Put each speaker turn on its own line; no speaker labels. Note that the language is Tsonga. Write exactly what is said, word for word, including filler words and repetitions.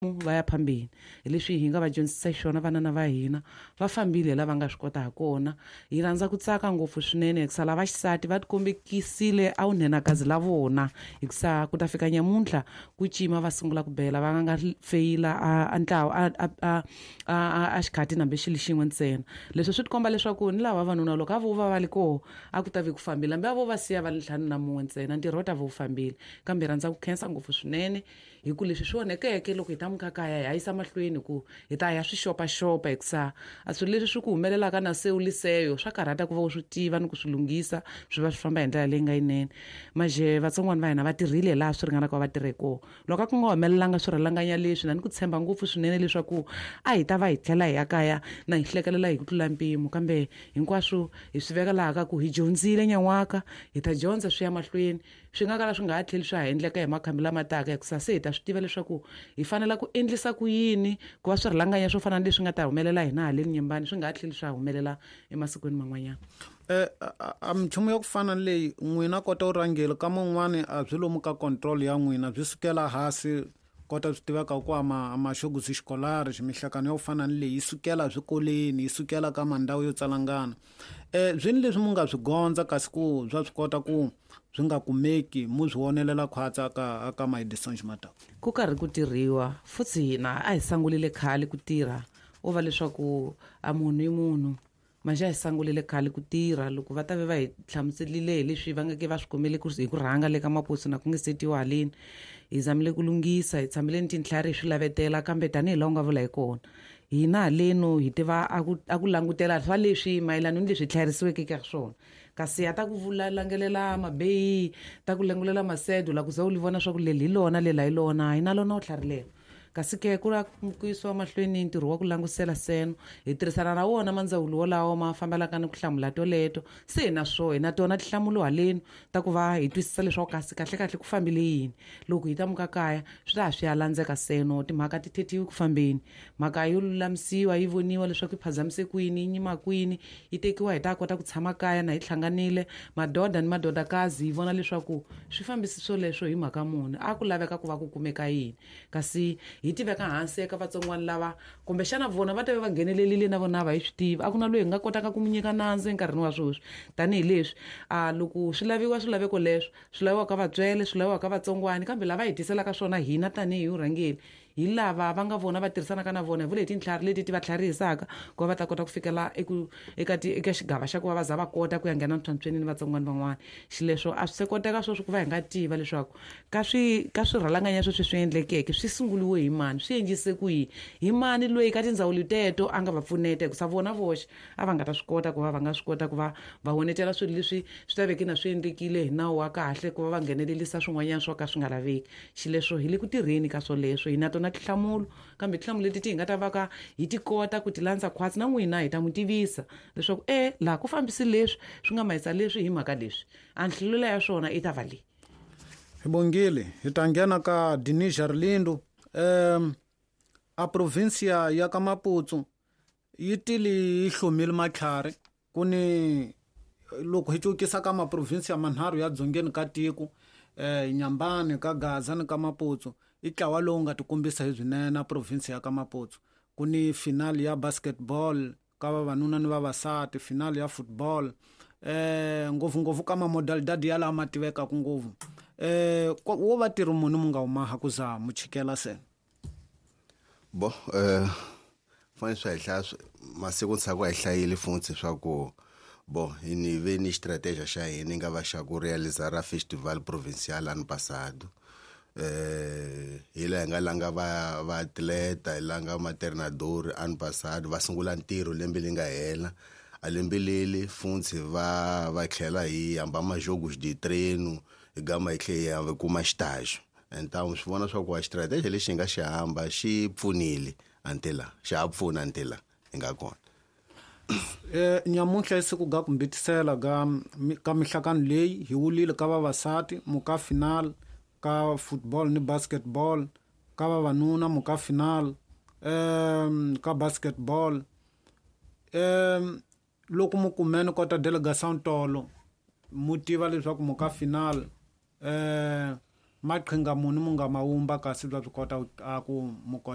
Va ya phambili hi leswi hi nga va dyondzisa xiswona vanana va hina va fambile lava nga swi kota ha kona. Hi rhandza ku tsaka ngopfu swinene hikusa lava xisati va tikombekisile a vunhenakazi la vona, hikusa ku ta fika nyamuntlha ku cima va sungula ku bela va nga feyila a ntlawa a a a a xikhati nambe xilo xin'we ntsena. Leswi swi tikomba leswaku ni lava vavanuna loko a vo va va li koho a ku ta vi ku fambile, hambi a vo va siya va li ntlhanu na mun'we ntsena ntirho wu ta va wu fambile. Kambe hi rhandza ku khensa ngopfu swinene hi ku leswi swi onhekeke loko hi ta mukakaya hi ya yisa mahlweni ku hi ta ya swi xopaxopa, hikusa a swilo leswi swi ku humelelaka na se u liseyo swa karhata ku va u swi tiva ni ku swi lunghisa swi va swi famba hi ndlela leyi nga yinene. Maje vatsongwana va hina va tirhile laha swi ringanaka va tirhe kona. Loko a ku nga humelelanga swirhalanganya leswi na ni ku tshemba ngopfu swinene leswaku a hi ta va hi tlhela hi ya kaya na hi hlekelela hi ku tlula mpimo, kambe hinkwaswo hi swi veka laha ka ku hi dyondzile nyan'waka, hi ta dyondza swi ya mahlweni, swi nga kala swi nga ha tlheli swa ha endleka hi makhambi lama taka, hikusa se hi ta swi tiva leswaku hi fanele ku endlisa ku yini ku va swirhalanganya swo fana na leswi nga ta humelela hina haleni Nyembani swi nga ha tlheli swa humelela emasikwini man'wanyana.
Eh a minchumu ya ku fana na leyi n'wina kota u rhangela ka man'wani a byi lomu ka control ya n'wina byi sukela hansi kota swi tiveka ku ama maxogusi xikolari ximihlakano ya ku fana na leyi yi sukela swikolweni yi sukela ka mandhawu yo tsalangana. Eh byi leswi mu nga swi gondza kasi ku bya swi kota ku swi nga kumeki mu swi wonelela khwatsa ka ka maedison ximataka
ku karhi ku tirhiwa futhi hina a hi sangulile khale ku tirha o va leswaku a munhu i munhu manje a hi sangulile khale ku tirha loko va ta ve va hi hlamuselile hi leswi va nga ke va swi kumele ku hi ku rhanga le ka maposi na ku nge setiwa haleni hi zamile ku lunghisa hi tshamile ni tintlhari hi swi lavetela, kambe tanihi laha u nga vula hi kona hina haleno hi tiva a ku a ku langutela swa leswi mayelana ni leswi tlharisiweke ka swona, kasi a ta ku vula langelela mabeyi ta ku langulela masedo la ku za u li vona swa ku leli hi lona lela hi lona hi na lona u tlharilela. Kasi ke ku la ku yisiwa mahlweni ntirho wa ku langusela seno hi tirhisana na wona mandzawulo wolawo ma fambelaka ni ku hlamula toleto, se hi na swo hi na tona tinhlamulo haleni ta ku va hi twisisa leswaku kasi kahlekahle ku fambile yini. Loko hi ta muka kaya swi ta ha swi ya landzeka seno timhaka ti thethiwi ku fambeni, mhaka yo lulamisiwa yi voniwa leswaku yi phazamise kwini yi nyima kwini yi tekiwa hi ta kota ku tshama kaya na hi hlanganile madoda ni madodakazi hi vona leswaku swi fambisi swoleswo hi mhaka muni a ku laveka ku va ku kumeka yini, kasi hi tiveka hansi eka vatsongwana lava kumbexana vona va ta va va nghenelerile na vona va hi swi tiva a ku na loyi hi nga kotaka ku mu nyika nandzu enkarhini wa sweswi tanihileswi a loko swi laviwa swilaveko leswo swi laviwa ka vatswele swi laviwa ka vatsongwani, kambe lava hi tiselaka swona hina tanihi vurhangeri hi lava va nga vona va tirhisanaka na vona hi vule hi tintlhari leti ti va tlharihisaka ku va va ta kota ku fikela eku eka ti eka xigava xa ku va va za va kota ku ya nghena ntlhantlhweni ni vatsongwana van'wana. Xileswo a swi se koteka sweswi ku va hi nga tiva leswaku ka swi ka swirhalanganya sweswi swi endlekeke swi sunguliwe hi mani swi endlise ku yini hi mani loyi ka tindzawulo teto a nga va pfuneta, hikusa vona voxe a va nga ta swi kota ku va va nga swi kota ku va va honetela swilo leswi swi ta veke na swi endlekile hi nawu wa kahle ku va va nghenelelisa swin'wanyana swo ka swi nga laveki. Xileswo hi le ku tirheni ka swoleswo hi na tona tinhlamulo, kambe tinhlamulo leti ti hi nga ta va ka hi ti kota ku ti landza khwatsi na n'wina hi ta n'wi tivisa leswaku e laha ku fambisi leswi swi nga mahisa leswi hi mhaka leswi a nhlamulo ya swona i ta va leyi.
Hi bongile hi ta nghena ka Dinis Arlindo. Um a provincia ya ka Maputo yi tile yi hlomile matlhari ku ni loko hi cukisa ka maprovinsia manharhu ya dzongeni ka tiko eh Nyambani ka Gaza ni ka Maputo i ntlawa lowu nga tikombisa hi swinene na province ya ka Maputo ku ni final ya basketball ka vavanuna ni vavasati final ya football eh ngopfungopfu ka mamodalidadi ya lama tivekaka ngopfu eh wo va tirhi muni mu nga huma ku za mu chikela se
bo eh fanele swa hi hlaya masiku ntshaku a hi hlayile futhi swa ku bo hi ni ve ni strategy xa hina nga va xa ku realizar a festival provincial ano passado eh hi laha hi nga langa va va atleta hi langa maternador ano passado va sungula ntirho lembe leri nga hela a lembe leli futhi va va tlhela hi hamba majogos de treino hi gama hi tlhela hi kuma xitaxo. Então swi vona swa ku a strategy lexi hi nga xi hamba xi pfunile antela xa ha pfuna antela hi nga kona.
Eh nyamuntlha i siku ga ku mbitisela ga ka mihlakano leyi hi wulile ka vavasati muka final ka football ni basketball ka vavanuna muka final um ka basketball um loko mu kumene kota delegation tolo mu tiva leswaku muka final eh Maqhinga muni mu nga ma wumba kasi bya swi kota a ku mu kota